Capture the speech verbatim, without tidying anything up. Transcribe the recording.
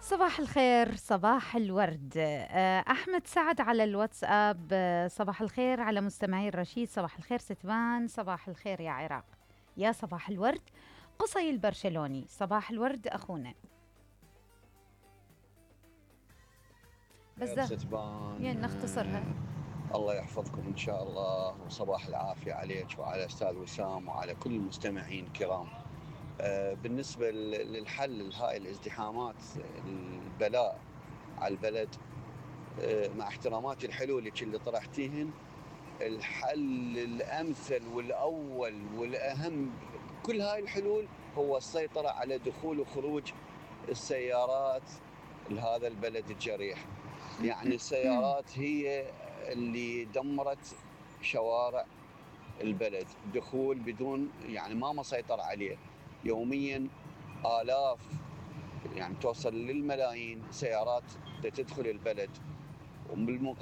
صباح الخير، صباح الورد. أحمد سعد على الواتساب، صباح الخير على مستمعي الرشيد، صباح الخير ستبان، صباح الخير يا عراق، يا صباح الورد. قصي البرشلوني، صباح الورد أخونا. بس ستبان، يعني نختصرها. الله يحفظكم إن شاء الله، وصباح العافية عليك وعلى أستاذ وسام وعلى كل المستمعين الكرام. بالنسبة للحل لهاي الازدحامات البلاء على البلد، مع احتراماتي الحلولك اللي طرحتيهن، الحل الأمثل والأول والأهم كل هاي الحلول هو السيطرة على دخول وخروج السيارات لهذا البلد الجريح. يعني السيارات هي اللي دمرت شوارع البلد، دخول بدون يعني ما مسيطر عليه. يوميا آلاف يعني توصل للملايين سيارات تدخل البلد، وبالمقابل